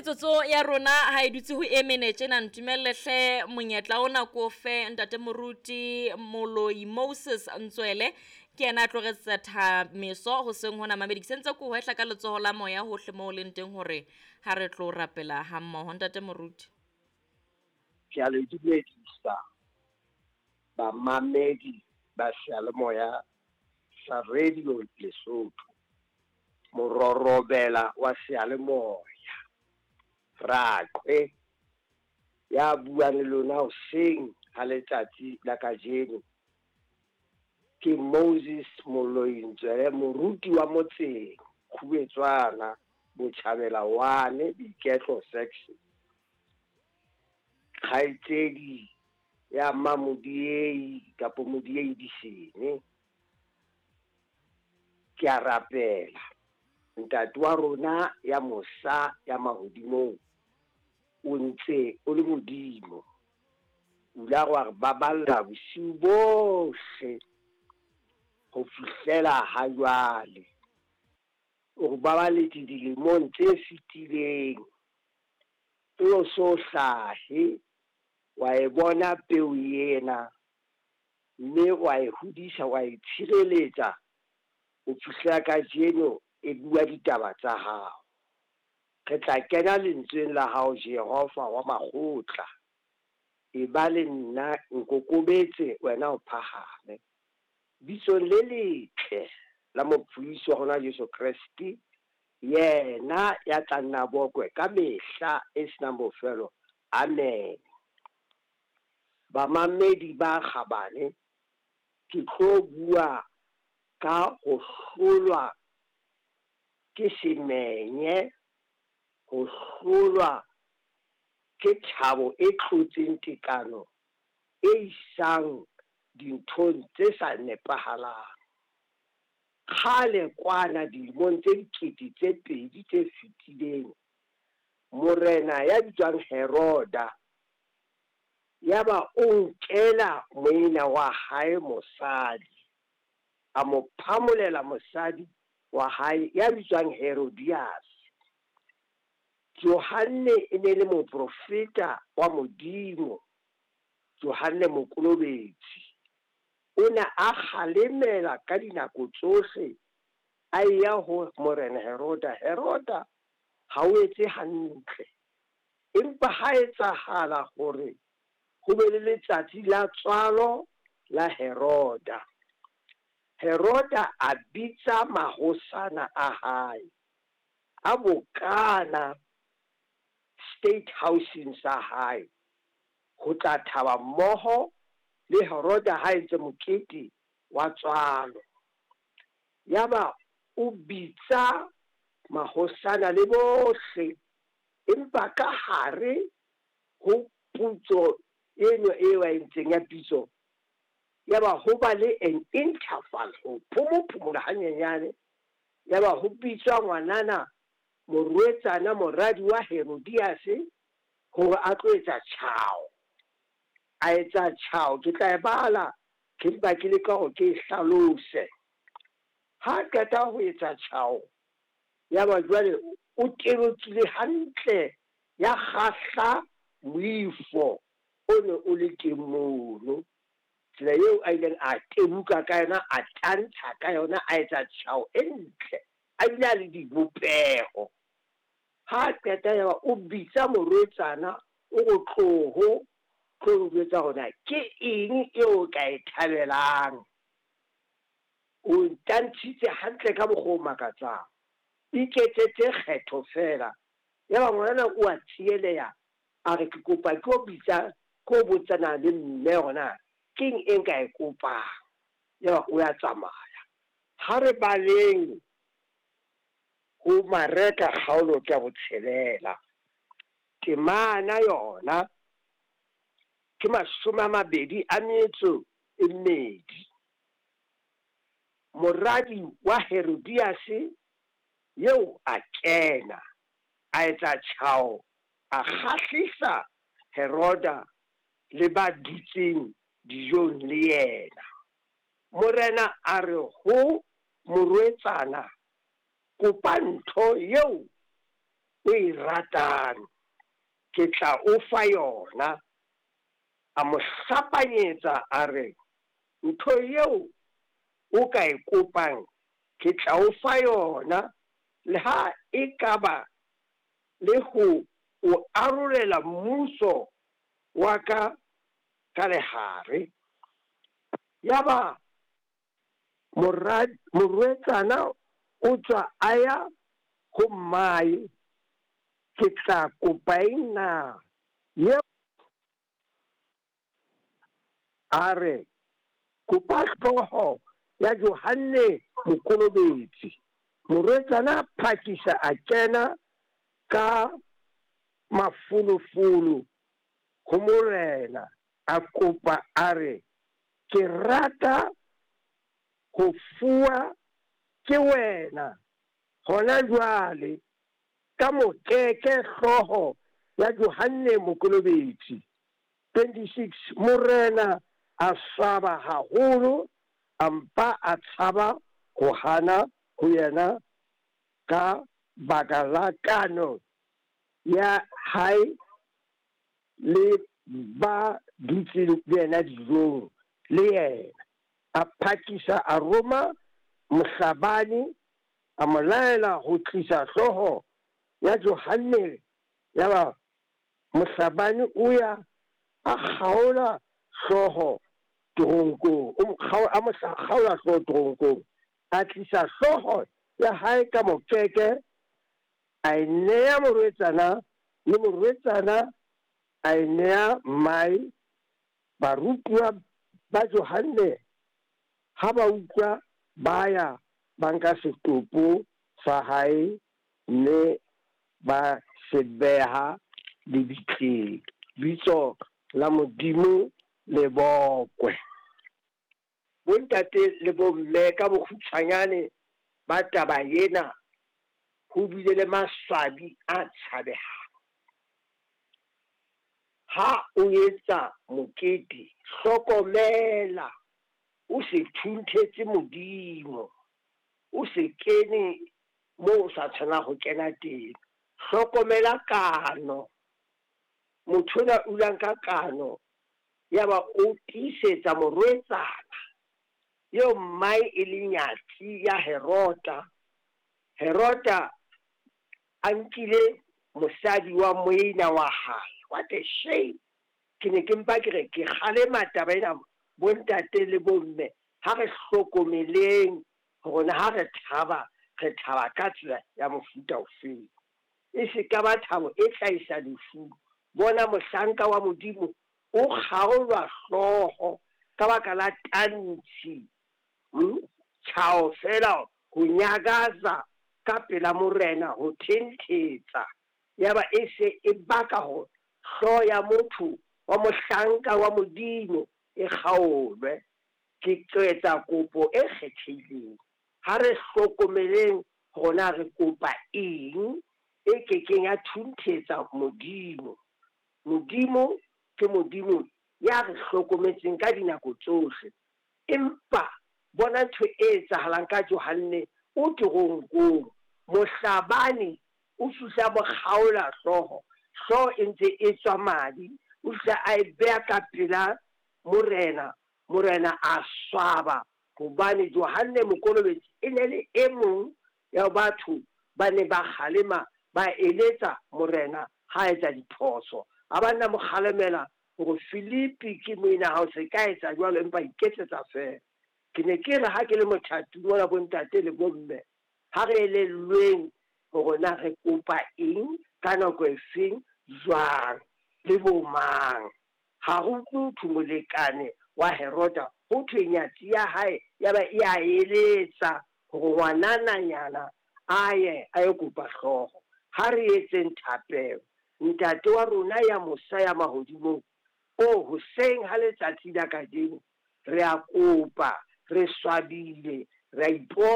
Metsotso ya rona ha e dutse ho e mene tjena, ntumelle hle monyetla ona ko fe ntate moruti Moloi Moses Ntswele, ke yena a tlo re etsetsa meso hoseng hona. Mamedi, ke sentse ko hwehla ka letsoho la moya hohle moo o leng teng hore ha re tlo rapela ha mmoho. Ntate moruti. Ke a le dumedisa bamamedi ba seyalemoya sa Radio Lesotho, mororobela wa seyalemoya, Raqwe ya buang le lona hoseng ha letsatsi la kajeno ke Moses Moloi Ntswele, moruti wa motseng Khubetswana, Botjhabela 1, Boiketlo section. Kgaitsedi ya Mamodiei kapo Modiei Disene. Ke a rapela ntate wa rona ya mosa ya mahodimong, o ntse o le Modimo, o ile wa re baballa bosiu bohle ho fihlela ha jwale. O re babaletse dilemong tse fetileng, o so hlahe wa e bona peo ena, mme wa e hodisa, wa e tshireletsa ho fihlela kajeno e bua ditaba tsa hao. Re tla kena lentsweng la hao, Jehova wa makgotla. E ba le nna, nkokobetse, wena o phahame. Bitsong le letle la mopholosi wa rona Jesu Kreste, yena ya tla nna bokwe ka mehla e senang bofelo. Amen. Bamamedi ba kgabane, ke tlo bua ka ho hlolwa ke semenye, ho hlolwa ke thabo e tlotseng tekano e isang dinthong tse sa nepahalang. Kgale kwana dilemong tse dikete tse pedi tse fetileng, morena ya bitswang Heroda yaba o nkela moena wa hae mosadi, a mo phamolela mosadi wa hae ya bitswang Herodias. Johanne e ne le moprofeta wa Modimo, Johanne Mokolobetsi. O ne a kgalemela ka dinako tsohle, a eya ho morena Heroda, Heroda ha o etse hantle. Empa ha etsahala hore ho be le letsatsi la tswalo la Heroda. Heroda a bitsa mahosana a hae, a bokana state houseng sa hae ho tla thaba mmoho le Heroda ha entse mokete wa tswalo. Yaba o bitsa mahosana le bohle, empa ka hare ho putso eno eo a entseng ya pitso, yaba ho ba le an interval, ho phomophomola hanyenyane. Yaba ho bitswa ngwanana, morwetsana, moradi wa Herodias, hore a tlo etsa tjhao. A etsa tjhao, ke tla e bala, ke mpa ke leka hore ke e hlalose. Ha qeta ho etsa tjhao, yaba jwale o tebokile hantle, ya kgahla moifo o ne o le teng mono. Tsela eo a ileng a tebuka ka yona, a tantsha ka yona, a etsa tjhao e ntle, a bile a le dibopeho. Ha qeta yaba o bitsa morwetsana, o re tloho, tlo njwetsa hore na ke eng eo o ka e thabelang. O ntantshitse hantle ka mokgwa o makatsang. Iketsetse kgetho feela. Yaba ngwanana o a tsieleha, a re ke kopa ke o bitsa, ke o botsana le mme hore na keng e nka e kopang. Yaba o ya tsamaya. Ha re baleng ho Mareka kgaolo ke ya botshelela, temana yona ke 22. Moradi wa Herodias eo a kena, a etsa tjhao, a kgahlisa Heroda le ba dutseng dijong le yena. Morena a re ho morwetsana, kopa ntho eo o e ratang, ke tla o fa yona. A mo hlapanyetsa a re, Ntho eo o ka e kopang, ke tla o fa yona, leha e ka ba le ho o arolela mmuso wa ka ka lehare. Yaba morwetsana o tswa a ya ho mmae, Ke tla kopa eng na? Eo a re, Kopa hlooho ya Johanne Mokolobetsi. Morwetsana a phakisa a kena ka mafolofolo ho morena, a kopa a re, Ke rata ho fuwa ke wena hona jwale ka mokeke hlooho ya Johanne Mokolobetsi. 26 Morena a swaba haholo, a mpa a tshaba ho hana ho yena ka baka la kano ya hae le ba dutseng le yena dijong le yena. A phakisa a roma mohlabani, a mo laela ho tlisa hlooho ya Johanne. Yaba mohlabani o ya a kgaola hlooho teronkong, o mo a mo kgaola hlooho teronkong, a tlisa hlooho ya hae ka mokeke, a e nea morwetsana, le morwetsana a e nea mmae. Barutuwa ba Johanne ha ba utlwa, ba ya ba nka setopo sa hae mme ba se beha lebitleng. Bitso la Modimo le bokwe. Bontate le bomme, ka bokgutshwanyane ba taba ena, ho bile le maswabi a tshabehang. Ha o etsa mokete, hlokomela o se thunthetse Modimo, o se kene moo o sa tshwanang ho kena teng. Hlokomela kano. Motho enwa o ile a nka kano yaba o tiisetsa morwetsana eo mmae e le nyatsi ya Herota. Herota a nkile mosadi wa moena wa hae. What a shame! Ke ne ke mpa ke re ke kgalema taba ena, bontate le bomme, ha re hlokomeleng hore na ha re thaba, re thaba ka tsela ya mofuta ofeng. E se ka ba thabo e tla isa lefung. Bona, mohlanka wa Modimo o kgaolwa hlooho ka baka la tantshi, tjhao feela, ho nyakaza ka pela Morena, ho thenthetsa, yaba e se e baka hore hlooho ya motho wa mohlanka wa Modimo e kgaolwe. Ke etsa kopo e kgethehileng. Ha re hlokomeleng hore na re kopa eng e ke keng ya thunthetsa Modimo. Modimo ke Modimo ya re hlokometseng ka dinako tsohle. Empa bona ntho e etsahalang ka Johanne, o teronkong. Mohlabani o fihla a mo kgaola hlooho, hlooho e ntse e tswa madi, o fihla a e beha ka pela morena. Morena a swaba hobane Johanne Mokolobetsi e ne le e mong ya batho ba neng ba kgalema, ba eletsa morena ha a etsa diphoso. A ba nna mo kgalemela hore Filipi ke moena hao, se ka etsa jwalo empa iketsetsa feela. Ke ne ke re ha ke le mothating ona, bontate le bomme, ha re elellweng hore na re kopa eng ka nako efeng, jwang le bo mang. Ha ho utlwe ho thwe molekane wa Heroda, ho thwe nyatsi ya hae ya ba e a eletsa hore ngwanananyana a ye a yo kopa hlooho. Ha re etseng thapelo. Ntate wa rona ya mosa ya mahodimong, oh, hoseng ha letsatsi la kajeno, re a kopa, re swabile, re a ipona.